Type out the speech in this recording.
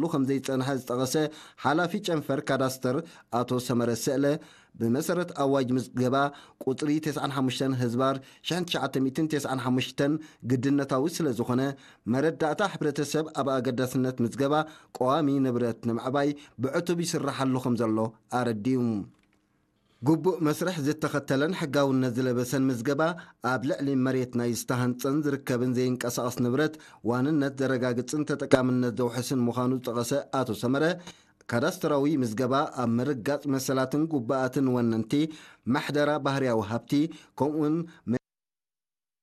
ክሰርሓሉ ከም ዘይጸንሐ ዝጠቐሰ ሓላፊ ጨንፈር ካዳስተር ኣቶ ሰመረ ስእለ፣ ብመሰረት ኣዋጅ ምዝገባ ቁጽሪ ተስዓን ሓሙሽተን ህዝባር ሽሕን ትሽዓተ ሚእትን ተስዓን ሓሙሽተን ግድነታዊ ስለ ዝኾነ፣ መረዳእታ ሕብረተሰብ ኣብ ኣገዳስነት ምዝገባ ቀዋሚ ንብረት ንምዕባይ ብዕቱብ ይስራሓሉ ከም ዘሎ ኣረዲኡ። ግቡእ መስርሕ ዝተኸተለን ሕጋውነት ዝለበሰን ምዝገባ፣ ኣብ ልዕሊ መሬት ናይ ዝተሃንጸን ዝርከብን ዘይንቀሳቐስ ንብረት ዋንነት ዘረጋግጽን ተጠቃምነት ዘውሕስን ምዃኑ ዝጠቐሰ ኣቶ ሰመረ፣ ካዳስተራዊ ምዝገባ ኣብ ምርጋጽ መሰላትን ግቡኣትን ወነንቲ፣ ምሕደራ ባህርያዊ ሃብቲ፣ ከምኡውን